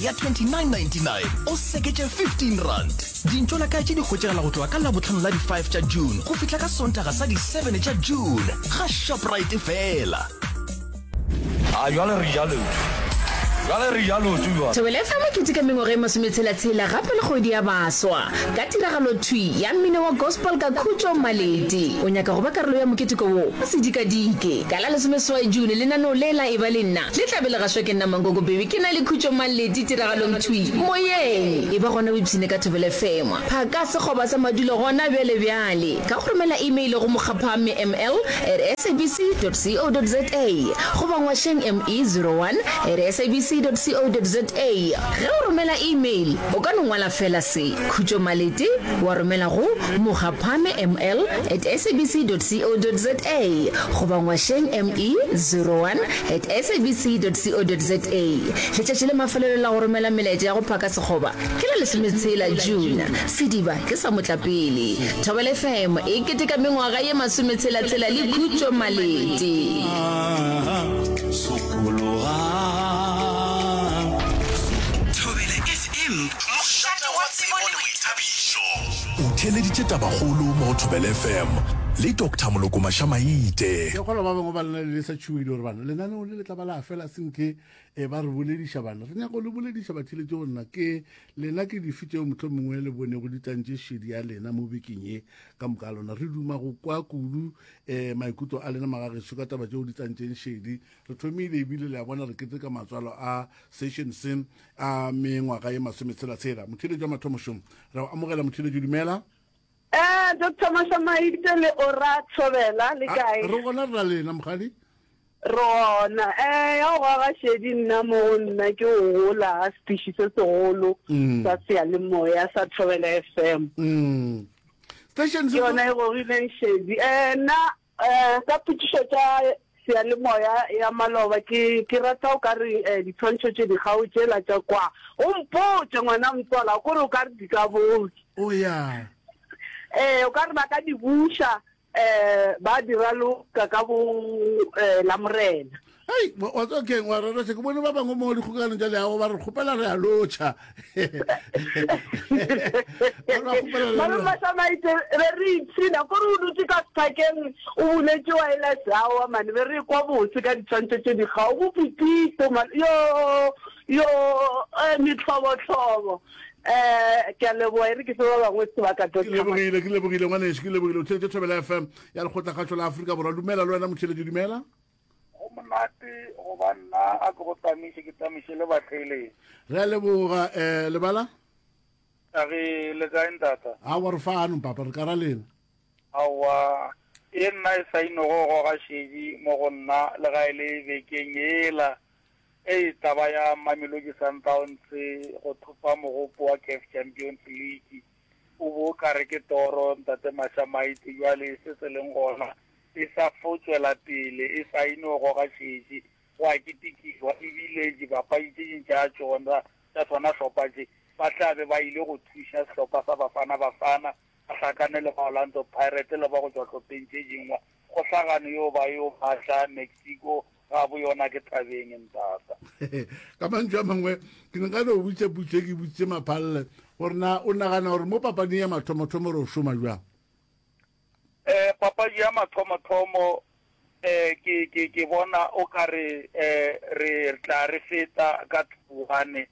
Ya 29.99 o seketše R15. Dintšolakae tše di hwetšagala go tloga ka Labohlano la di 5 tša June go fihla ka Sontaga sa di 7 tša June ga Shoprite fela. A jwale re ja leoto. Jwale re ja leoto jwale. Thobela FM e keteka mengwaga e masometshela-tshela gape le kgwedi ya baswa ka tiragalo thwi ya mmino wa gospel ka Khutšo Maleti. O nyaka go ba karolo ya moketeko wo? O se dikadike. Ka la lesomeseswai June lenaneo le la Eba le Nna le tla be le gašwa ke nna Mankoko Baby ke na le Khutšo Maleti tiragalong thwi moyeng. Eba gona o ipshine ka Thobela FM. Phaka sekgoba sa madulo gona bjale bjale ka go romela email go mokgaphamme ml at sabc dot co dot za goba ngwašeng me 01 at sabc dot co dot za. Ge o romela email o ka no ngwala fela se, Khutšo Maleti wa romela go mokgaphame ml at sabc dot co dot za goba ngwašeng me 01 at sabc dot co dot za. Letšatši la mafelelo la go romela melaetša ya go phaka sekgoba ke la lesometshela June. Sediba ke sa motlapele. Thobela FM e keteka mengwaga ye masometshela-tshela le Khutšo Malete. Thobela FM, mošate wa tsebo le boithabišo. O theeleditše tabakgolo mo go Thobela FM le Doctor Moloko Mašamaite. Ke kgolwa ba bangwe ba lena le sa tšhogile gore bana lenaneo le le tla ba la fela senke e ba re bolediša bana re nyaka go le bolediša batheletše go nna ke lena ke dife tšeo motlho mongwe le bonego di tlantše šedi ya lena mo bekeng ye ka moka lona re duma go kwa kudu um maikutlo a lena magagešo ka taba tšeo di tlantšeng šedi Re thomile ebile le a bona re keteka matswalo a session se a mengwaga ye masometshela-tshela. Motheeletši wa mathomo šo. Re go amogela motheeletši, dumela. Eh, Doctor Mashamaite le Ora Thobela, le kae? Re gona re ra lena mokgadi. Re gona. Eh, ya go goga šedi nna mo go nna ke go gola ga setiši se segolo mm. sa seyalemoya sa Thobela FM. Mm. Station se yona e gogileng šedi. Eh, nna eh ka potšišo tša Seyalemoya ya maloba ke ke rata o ka re eh, ditshwantšho tše dikgao tšela tša kwa o mpotše ngwana mtswala o kore o ka re di ka botse o ya eh o ka re ba ka di buša eh ba di raloka ka bo eh, la morena Hei, wa tseba keng wa rereša ke bone ba bangwe mo dikgokanong tša leago ba re kgopela re a lotšha Malome be re ipshina kore o dutse ka sephakeng o buletše wireless aowa mane be re ekwa bose ka ditshwantšho tše dikgao bo Pipito man yo yo eh, metlhobotlhobo eh ke a leboga e re ke fe ba bangwe sebaka ke lebogile ke lebogile ngwaneso ke lebogile o theletše thobela fm ya lekgotlakgašo la afrika borwa dumela le wena motheletše dumela Go monate go ba nna a ke go tamiše ke tamiše le batheeletši. Re a leboga um lebala. A re le kae ntata? Aowa re fano papa re ka ra lena. Aowa e nna e sa ino go goga šedi mo go nna le ga e le bekeng yela e taba ya Mamelodi Sundowns go thopa mogopo wa CAF Champions League o bo o ka re ke toro ntate Mashamaite jwale se se leng gona e sa fo tšwela pele e sa ino goga šetše, go a ketekiwa e bile dibapadi tše ding tša tšona tša sona hlopha tše ba tla be ba ile go thuša sehlopha sa Bafana Bafana ba hlakane le ba Orlando Pirates le ba go tšwa hlopheng tše dingwe. Kgohlagano yeo ba yo batla Mexico gabo yona ke thabeng ntata. Ka mantšu a mangwe ke ne nka no botša putšo e ke botšitše Maphalle gore na o nagana gore mo papading ya mathomothomo re o šoma bjang? Eh, papadi ya mathomothomo eh, ke, ke, ke bona o ka re eh, re tla re feta ka 2-1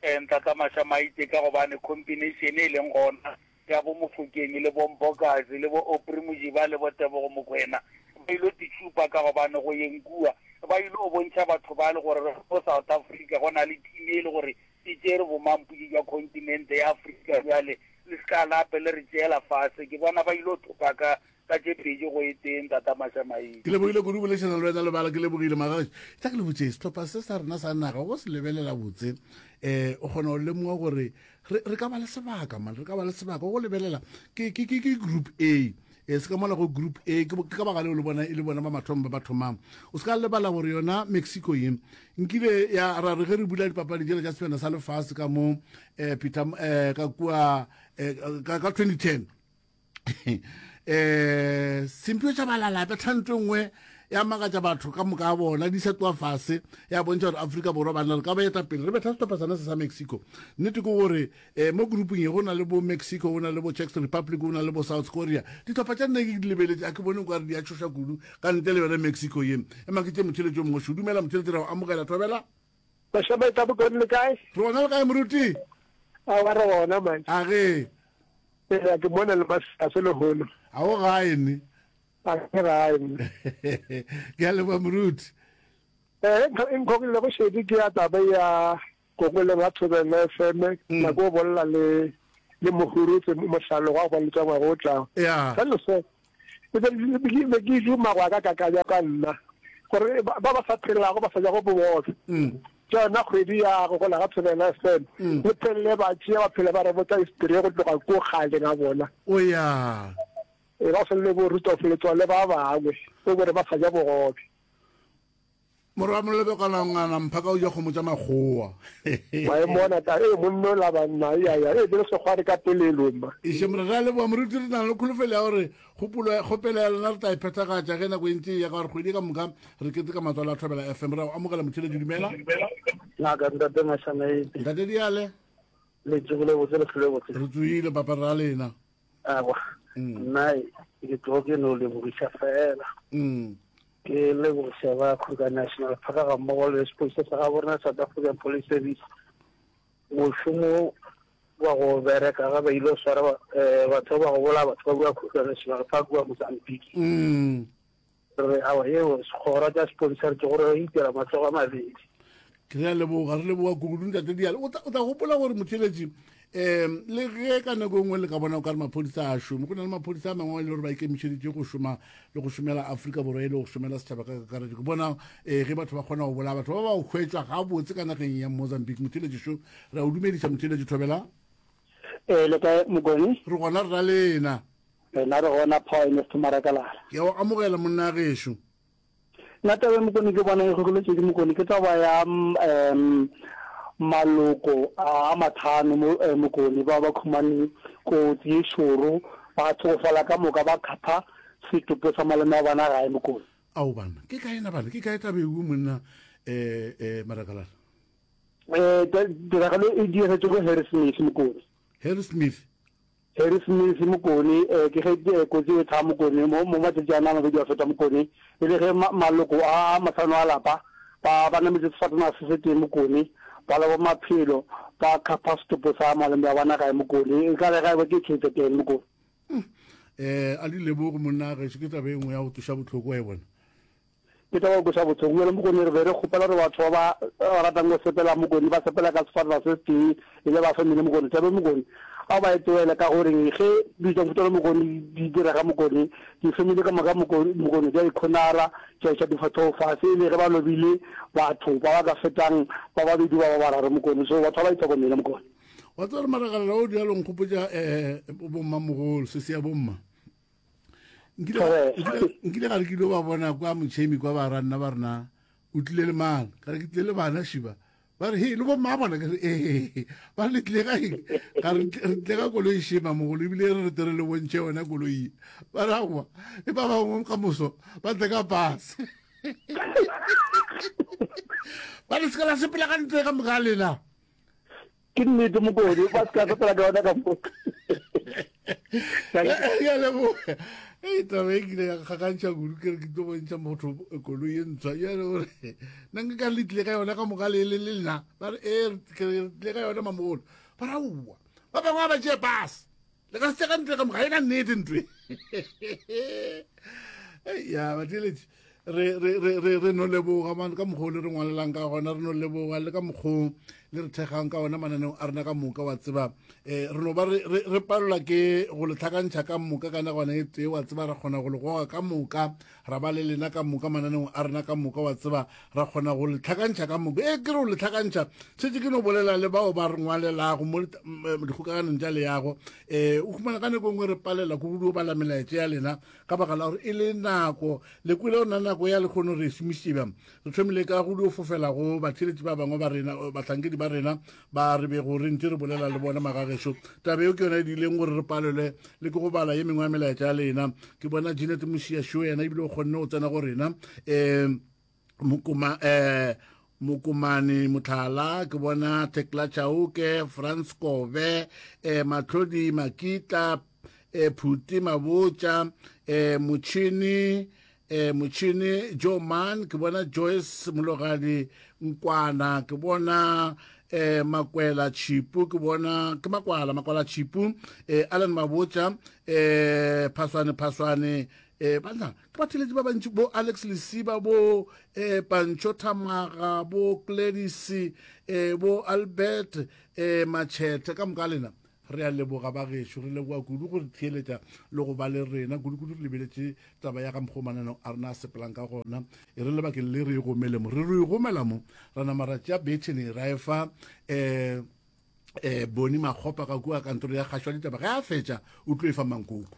eh, Ntlatla Mashamaite ka gobane combination e leng gona ya bo Mofokeng le bo Mbokazi le bo Aubrey Mojiba le bo Tebogo Mokoena ba ilo titšhupa ka gobane go yeng kua ba ilo bontšha batho ba le gore mo South Africa go na le team e le gore e tšere bomampodi jwa kontinente ya Afrika bjale le se ka lape le re tšeela fase. Ke bona ba ilo thopa ka ka tše pedi go e tee Ntata Mashamaite. Ke lebogile kudu bolešana le wena Lebala, ke lebogile Magaši. Tla ke le botše, sehlopha se sa rena sa naga go se lebelela botse um o kgona go lemoga gore re re ka ba le sebaka man, re ka ba le sebaka go lebelela ke ke ke ke group A e se ka mola go group A ke ka baka leo le bona e le bona ba mathomo ba ba thomang. O se ka lebala gore yona Mexico ye nkile ya ra re ge re bula dipapadi tšela tša sebjana sa lefase ka mo eh, Peter eh, ka kua eh, ka, ka 2010 eh sempio tša balalape tlhanto nngwe ya makatša batho ka moka bona di sa tloa fase ya bontšha gore Afrika Borwa banna re ka ba eta pele re betha sehlopha sona se sa Mexico. Nnete ke gore um mo grouping ye go na le bo Mexico, go na le bo Czech Republic, go na le bo South Korea. Dihlopha tša nna ke di lebeletše a ke bone o ka re di a tšhoša kudu ka ntle le yona Mexico ye. Ema ke tše motheletši o mongwe šo. Dumela motheletši ra go amogela thobela. Bašwa ba Bokone le kae? Re gona le kae moruti? Aowa re gona man. A ge. Ee, ke mona le masase lehono. A o gae ne? A ke gae ne. Ke a leboga moruti. Eh, e nkhogile go šedi ke ya taba ya Kongoleng ga Thobela FM, mm. nako o bolela le le mohurutse mohlalo wa go letša ngwaga o tlago. Yeah. Ka leso e be be ke duma go ka kakanya ka nna gore ba ba sa phelago ba sa jago bobobe. Mm. Ke yona kgwedi ya go gola ga Thobela FM. Mm. Le phelele ba tšea ba phela ba re botsa history go tloga ko kgale ga bona. O ya. E ba sele bo Rudolf Letsoale ba bangwe o bore ba sa ja bogobe. Morwa molebekwana ngwana mphaka o ja kgomo tša makgowa. Wa e mona ta e monno la banna ya ya e bele sekgware ka polelo mma. Iše mora ra leboga moruti re na le kholofelo ya gore kgopolo kgopelo ya lena re tla e phethagatša ge nako e ntse e ya ka gore kgwedi ka moka re keteka matswalo a Thobela FM. Re a o amogela motheeletši dumela. Ngaka ntate Mashamaite. Ntate Diale. Le tsogile botse le hlole botse. Re tsoile papa ra lena. Awa. Mm. Nna ke tlo ke no lebogiša fela. Mm. Ke lebogiša ba Kruger National Park ga mmogo le sepodisa sa gabo rena South African Police Service. Mošomo wa go bereka ga ba ile go swara eh, batho ba go bolaya batho ba kua Kruger National Park kua Mozambique. Mm. Re awa yeo sekgora tša sepodisa re ke gore re itira matsogo a mabedi. Ke re a leboga, re leboga kudu ntate Diale. O tla gopola gore motheletši um le ge ka nako e nngwe le ka bona o ka re maphodisa a šome, go na le maphodisa a mangwe a e le gore ba ikemišeditše go šoma le go šomela Afrika Borwa e le go šomela setšhaba ka kakaretšo. Ke bona um ge batho ba kgona go bolaya batho ba ba go hwetšwa gabotse ka nageng ya Mozambique. Motheletši šo, re a o dumediša motheletši Thobela. Ee, le kae Mokone? Re gona re ra lena. Rena re gona Power Ernest Marakalala. Ke a o amogela monna gešo. Nna taba e Mokone ke bona e gogoletše ke Mokone ke taba ya um maloko a mathano mo eh, Mokone ba ba khumane kotsi ye šoro ba tlhokofala ka moka ba khapha setopo sa malome wa bona gae Mokone. Ao banna, ke kae na banna, ke kae taba ewe monna eh eh Marakalala? Eh tiragalo e diragetše ko Harrismith Mokone. Harrismith. Harry Smith, Mokone, eh, ke ge eh, kotsi e tha Mokone, mo, mo matšatši ana a mabedi a feta Mokone, e le ge ma, maloko a a mahlano a lapa ba, ba nametše sefatanaga se setee Mokone, ba loba maphelo, ba khapha setopo sa malome wa bona gae Mokone, e ka re ga e ba ke KZN Mokone. Eh, a di leboge monna gešo ke taba e nngwe ya go tsoša bohloko wa e bona. Ke taba go kweša bohloko. Bjale Mokone re be re kgopela gore batho ba ba ratang go sepela Mokone ba sepela ka sefatana se setee e le ba family Mokone. Taba e Mokone a ba e tlohele ka goreng ge dilo tša mohuta wa Mokone di direga Mokone di-family ka moka Mokone Mokone di a ikhonara tša iša difahlego fase e le ge ba lobile batho ba ba ka fetang ba babedi ba ba bararo Mokone. So batho ba ba itlhokomele Mokone. Wa tseba gore marakalala o dialo nkgopotša um bommamogolo sesi ya bomma. Nkile ga re kile ba bona kwa motšhemi kwa ba ranna ba rena o tlile le mang ka re ke tlile le bana šiba ba re he le bomma bona ke re ee ba re le tlile ka eng ka re tlile ka koloi shema mogolo ebile re re tere le bontšhe yona koloi ba re aowa e ba bangwe ka moso ba tle ka pase ba re se ka la sepela ka ntle ka moka lena Ke nnete mokodi ba se ka sepela ka yona ka mo. Ya leboga. Ei taba e kile ya gakantšha kudu ke re ke tlo bontšha motho koloi e ntshwa ya le gore nna nka ka le tlile ka yona ka moka le le le nna ba re ee re tlile ka yona mamogolo ba re aowa ba bangwe ba ba tšee pase le ka se ka ntle ka moka e na nnete ntwe ya batheletši re re re re re no leboga man ka mokgwa o le re ngwalelang ka gona re no leboga le ka mokgwa le re thekgang ka ona mananeo a rena ka moka wa tseba um re no ba re palelwa ke go le tlhakantšha ka moka ka nagwana e tee wa tseba ra kgona go le goga ka moka ra ba le lena ka moka mananeong a rena ka moka wa tseba ra kgona go le tlhakantšha ka moka e ke re go le tlhakantšha šetse ke no bolela le bao ba re ngwalelago mo dikgokaganong tša leago um o humana ka nako e nngwe re palela ko go bala melaetša ya lena ka baka la gore e le nako le kwele ona nako ya lekgono re e šomišitše bjang re thomile ka go dio fofela go batheeletši ba bangwe ba rena bahlankedi batheeletši ba rena ba re bego re ntše re bolela le bona magagešo. Taba eo ke yona e diileng gore re palelwe le ke go bala ye mengwe ya melaetša ya lena. Ke bona Jeanette Mošia šo yena ebile o kgonne go tsena go rena. Um mokoma um Mokomane Motlhala, ke bona Thekla Chauke, Frans Kobe, eh, Matlhodi Makitla, eh, Phuti Mabotja, eh, Motšhini, eh, Motšhini Joe Mann, ke bona Joyce Mologadi Nkwana, ke bona eh, Makwela Chipu, ke bona ke Makwala, Makwala Chipu, eh, Alan Mabotja, eh, Phaswane Phaswane, eh, banna ke batheletši ba bantši bo Alex Lesiba bo eh, Pancho Thamaga bo Gladys eh, bo Albert eh, Machete ka moka lena re a leboga ba gešo re leboga kudu go re theeletša le go ba le rena kudu-kudu re lebeletše taba ya ka mokgwa mananeo a rena a sepelang ka gona e re lebakeng le re e gomele mo re re e gomela mo ra nama ra tšea bethene ra e fa um um boni makgopa ka kua kantoro ya kgašo ya ditaba ge a fetša o tlo e fa mankoko.